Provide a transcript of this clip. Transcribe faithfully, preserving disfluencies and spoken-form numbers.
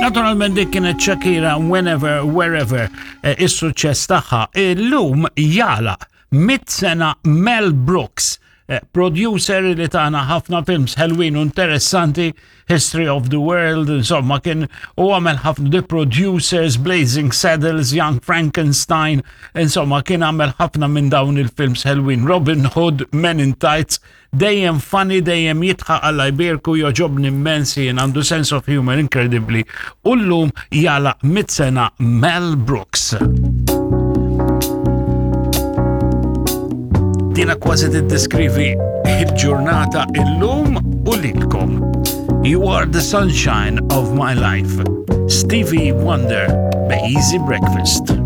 Naturalment dik kienet Shakira Whenever, Wherever, eh, is-suċċess tagħha. Illum jagħlaq mitt sena Mel Brooks, eh, producer li tana ħafna films ħelwin u interessanti, History of the World, insomma kien u għamel ħafna The Producers, Blazing Saddles, Young Frankenstein, insomma kien għamel ħafna minn dawn il-films ħelwin, Robin Hood, Men in Tights, dejjem funny, dejjem jidħaq Alla jbierku jogħġobni immens jien għandu sense of humor incredibly. U llum jagħlaq mitt sena Mel Brooks. Dina kważi tiddeskrivi il-ġurnata illum u lilkom. You are the sunshine of my life. Stevie Wonder, Be Easy Breakfast.